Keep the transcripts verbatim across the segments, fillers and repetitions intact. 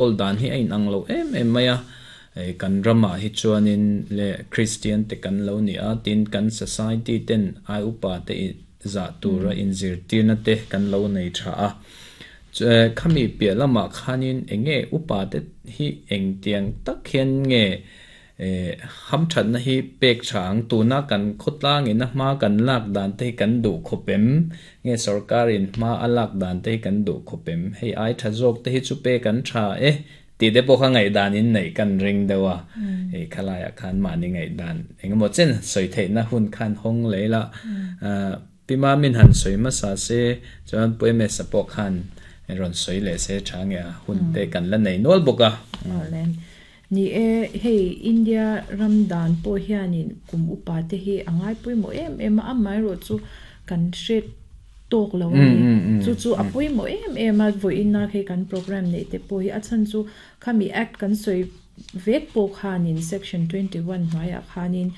Kawl dan hi a inang lo em em mai a, kan ramah hi chuanin leh Kristian te kan lo ni a, tin kan society ten ai upa te zah tura inzirtirna te kan lo nei tha a. Khami piah lamah khanin enge upa te hi engtiang tak hian nge hamthatna hi pek tha ang, tuna kan khawtlangin a hma kan lak dan te hi kan duh khawp em, nge sorkarin hma a lak dan te hi kan duh khawp em, hei ai tha zawk te hi chu pek an tha e ti te pawh kha ngaihdan in neih kan ring deuh a, hei khalaiah khan mahni ngaihdan engemaw chen sawi theihna hun khan hawng leh ila. Pima min han sawi hmasa se chuan Puemesa pawh khan rawn sawi leh se tha nge a hun te kan la nei nual bawk a. Ni e, hei India ram dan pawh hianin kum upa te hi a ngai pawimawh em em a, amaherawh chu kan hre tawk lo a ni. Chu chu a pawimawh em em a, vawiin hei kan program neih te pawh hi a chhan chu khami act kan sawi vek pawh khanin section twenty one hnuaiah khanin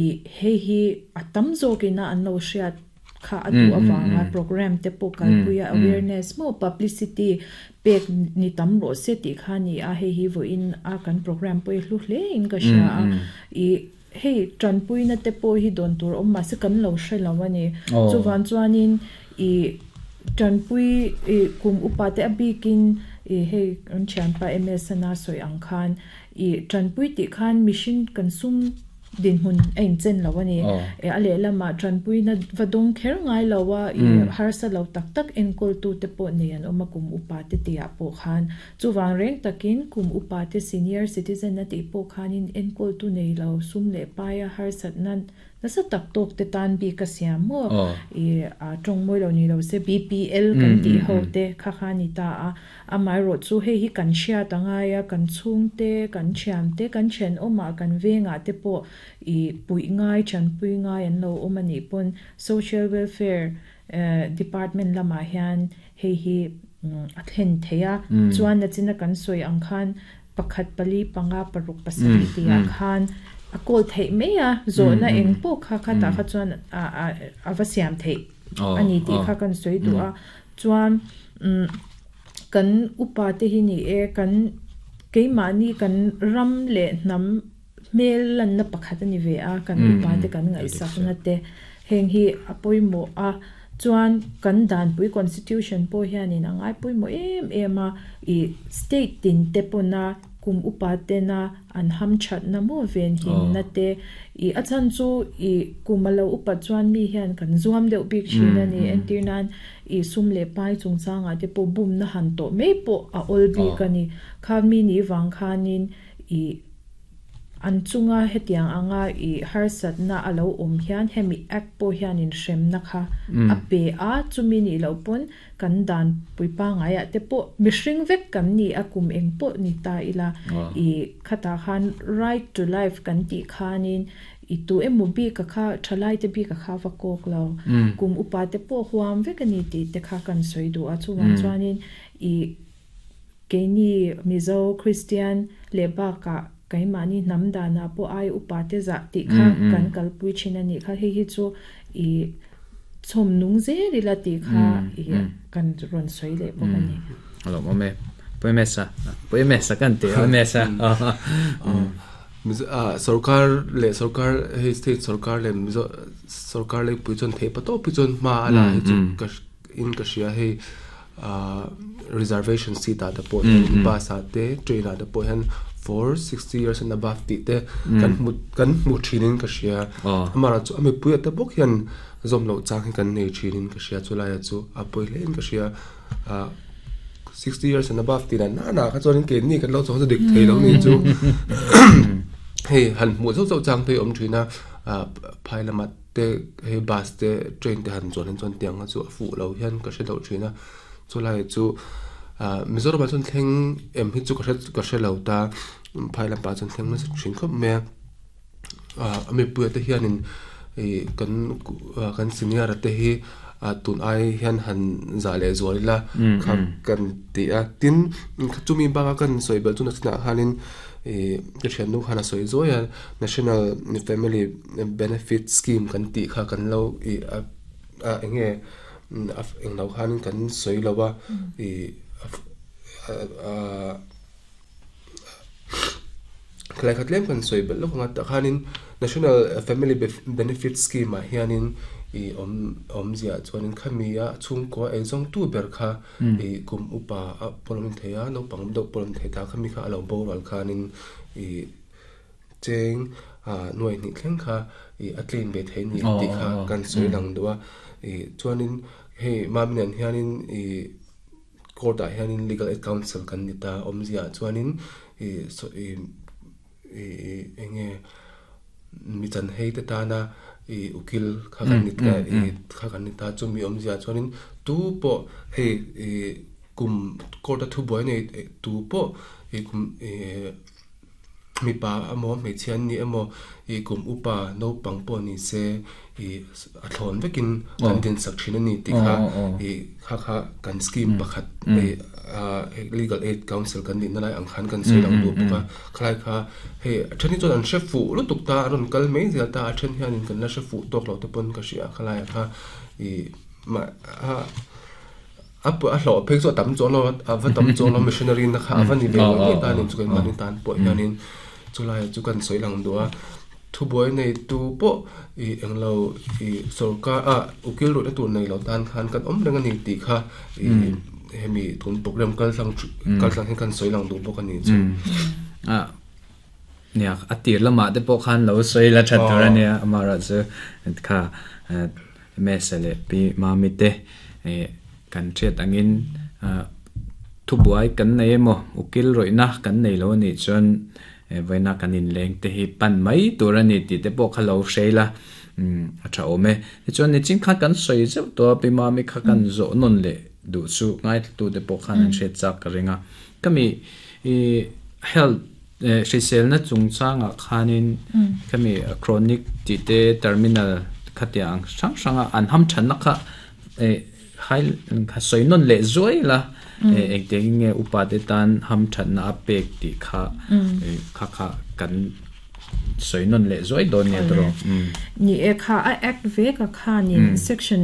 i hei hi a tam zawkina an lo hriat kha a duh avanga program te pawh kalpuia awareness maw publicity pek ni tam rawh se tih kha ni a, hei hi vawiin a kan program pawh hi hlu hle in ka hria a, i hei tanpuina te pawh hi dawn tur awm mahse kan lo hre lo a ni. Chuvan chuanin i tanpui i kum upa te a bikin i hei an thianpa M S ana sawi ang khan i tanpui tih khan mihring kan sum din hun a inchen lo a ni. E a lehlamah tanpuina va dawng kher ngai lo a, i harsa lo tak tak enkawl tu te pawh nei an awm a kum upa te tiah pawh khan chuwang reng takin kum upa te senior citizen a tih pawh khanin enkawl tu nei lo sum leh paia harsat nan nasa tak tawk te tan bi ka siam maw i a tawng mawi lo ni lo se B P L kan tih ho te kha kha ni ta a, amaherawh chu hei hi kan hriat angai a, kan chhung te kan thian te kan thian awmah kan vengah te pawh i pui ngai thanpui ngai an lo awm ani pawn social welfare department lamah hian hei hi a thlen theia chuan na china kan sawi ang khan pakhat pali panga paruk pasarih tiah khan a kawl theih mai a, zawhna eng pawh kha kha tah kha chuan a a va siam theih ani tih kha kan sawi duh a. Chuan kan upa te hi ni e, kan keimahni kan ram leh hnam hmel lanna pakhat ani ve a, kan upa te kan ngaihsakna te heng hi a pawimawh a. Chuan kan danpui constitution pawh hianin a ngai pawimawh em em a, i state tin te pawna kum upa tena an ham thatna maw ven hinna te i a chan chu i kum a lo upa chuan mi hian kan zuam deuh bik thin ani, entir nan i sum leh pai chungchangah te pawh bum na han tawh mai pawh a awl bik ani. Kha mi ni wang khanin i an chunga hetiang anga i harsatna a lo awm hian hemi act pawh hianin hremna kha a pe a, chumi ni lo pawn kan dan puipa ngaiah te pawh mihring vek kan ni a, kum eng pawh ni ta ila i khata khan right to life kan tih khanin i tu emaw bi ka kha thalai te bi ka kha va kawk lo, kum upa te pawh huam vek ani tih te kha kan sawi duh a. Chuan chuanin i keini Mizo Christian leh bakah keimahni hnam dana pawh ai upa te zah tih kha kan kalpui thin ani kha, hei hi chu i chhawm nung zel ila tih kha i kan rawn sawi leh bawk ani. Alo awm e, Puemesa Puemesa kan ti Puemesa sarkar leh sarkar hei state sarkar leh Mizo sarkar leh pui chuan thei pato pui chuan hma ala hi chu ka in ka hria hei reservation seat a te pawh bus a te train a te pawh hian for sixty years and above ti te kan mu kan mu thinin ka hria amara chu ami pui ate bawk hian zom lo chang hi kan nei thinin ka hria chulai chu a pui hle in ka hria sixty years and above ti na na na kha chuan ke ni kan lo chu dik thei lo ni chu hei han mu zo zo chang phei awm thina phai lama te hei bus te train te han chuan chuan tiang chu a fu lo hian ka hre lo thina chulai chu Mizoram chuan thleng em hi chu ka hre ka hre lo ta phai lam pa chuan thleng na thin khawp mai a, ami pui te hianin kan kan senior te hi tun ai hian han za leh zual ila kha kan ti a, tin chumi banga kan sawi bel chu na china khanin ka thian nu khan a sawi zawi a, National Family Benefit Scheme kan tih kha kan lo i a enge eng lo khanin kan sawi lo a, i a Khlai khatlem kan soi bel lo nga ta khanin National Family Benefit Scheme a hianin i om om zia chuanin khamia chhungkua ei zawng tu ber kha i kum upa a polom theia no pang do polom thei ta khami kha alo boral khanin i cheng a nuai ni thleng kha i atlein be thei ni ti kha kan soi lang duwa i chuanin hei maminan hianin i court a hianin legal aid council kan ni ta om zia chuanin i so i i enge mi chan hei te ta na i ukil kha kan ni ta i kha kan ni ta chu mi om zia chuanin tu po hei i kum court a thu boy nei tu po i kum e mi pa amo me chian ni amo i kum upa no pang po ni se i a thlon vekin kan din sak thin ani ti kha i kha kha kan scheme pakhat e legal aid council kan ni na lai ang khan kan sei lang du pa khlai kha he thani chon an she fu lu tuk ta ron kal mei zel ta a then hian in kan la she fu tok lo te pon ka ria khlai kha i ma a ap a hlo phek zo tam chon lo ava tam chon lo missionary na kha ava ni ve ni ta ni chu kan mani tan po hianin chulai chu kan soi lang duwa thu boy nei tu po i englo i sarkar a ukil ro na tur nei lo tan khan kan om reng ani ti kha i hemi tun program kal sang kal sang kan soi lang du bok ani chu a nia atir lama te po khan lo soi la that tur ania amara chu kha mesele pi mami te kan chet angin thu buai kan nei emo ukil roina kan nei lo ni chuan vaina kanin leng te hi pan mai tur ani ti te pawh kha lo hreila a tha awm e ti chuan ni chin kha kan sawi zeuh tawh pi mami kha kan zawh nawn leh duh chu ngai tu te pawh khan an hriat chak ka ringa kami i health hriselna chungchangah khanin kami chronic ti te terminal khatiang hrang hranga an ham thanna kha hai kha sawi nawn leh zuai la engte nge upa te tan ham thatna a pek ti kha kha kha kan soi non le zoi don ne tro ni e kha a act ve ka kha ni section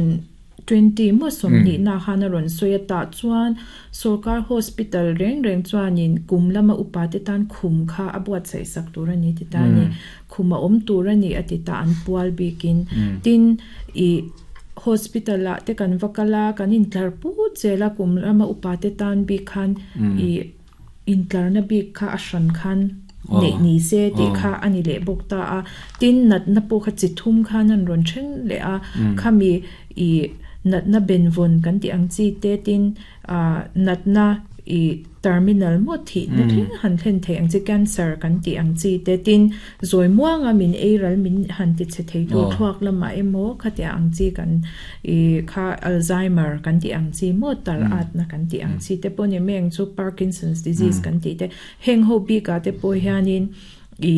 twenty mo som ni na khana ron soya ta chuan sarkar hospital reng reng chuanin kum lama upa te tan khum kha abuat sai sak tur ani ti ta ni khuma om tur ani ati ta an pual bikin tin i hospital la te kan vakala kan in tlar pu chela kum lama upa te tan bi khan i in tlar na bi kha ashran khan ne ni se ti kha ani le bok ta a tin nat na po kha chi thum khan an ron then le a khami i nat na benvon kan ti ang chi te tin a nat na i terminal mo thi na thing han thlen thei ang chi cancer kan ti ang chi te tin zoi muanga min eiral min han ti che thei tu thuak lama emo khatia ang chi kan i kha Alzheimer kan ti ang chi mo tar at na kan ti ang chi te pone meng chu Parkinson's disease kan ti te heng ho bi ka te po hianin i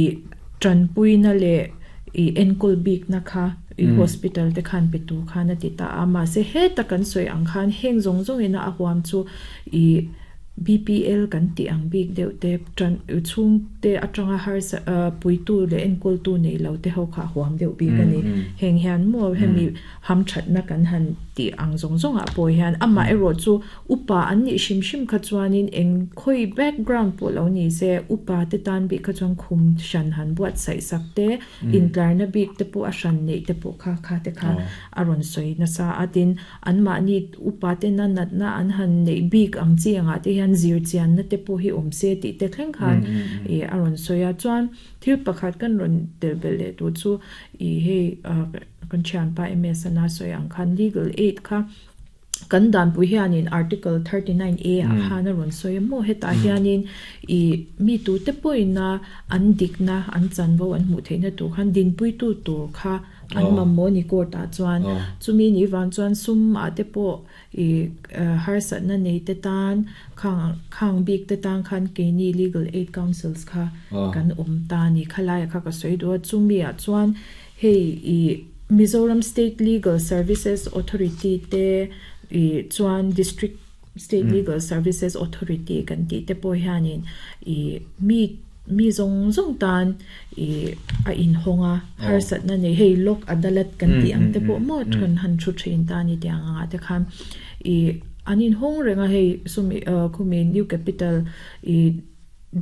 tran pui na le i enkul bik na kha i hospital te khan pe tu khan ati ta ama se he ta kan soi ang khan heng zong zong ina a huam chu i B P L kan ti ang big deuh te tran chung te atanga har puitu le enkul tu nei lo te ho kha huam deuh bi ka ni heng hian mo hemi ham that na kan han ti ang zong zong a poi hian ama ero chu upa an ni shim shim kha chuanin eng khoi background po lo ni se upa te tan bi kha chuan khum shan han buat sai sak te in tlar na bik te pu a shan nei te pu kha kha te kha aron soi na sa atin an ma ni upa te na nat na an han nei bik ang chi anga te hian zir chian na te pu hi om se ti te thleng khan e aron soya chuan thil pakhat kan ron tel bel le tu chu i hei kan chan pa M S na soyang khan legal aid kha kan dan pu hianin article thirty-nine A a khana ron soya mo heta hianin i mi tu te poina an dikna an chanvo an mu theina tu khan din pui tu tur kha an mammo ni court a chuan chumi ni wan chuan sum a te po i har sat na nei te tan khang khang bik te tan khan ke ni legal aid councils kha kan om ta ni khalai kha ka soi do chumi a chuan hei i Mizoram State Legal Services Authority te i chuan District State Legal Services Authority kan ti te po hianin i mi mi zong zong tan i a in honga har sat na nei hei lok adalat kan ti ang te po mo thun han thu thin ta ni tiang anga te khan i anin hong renga hei sumi khumi new capital i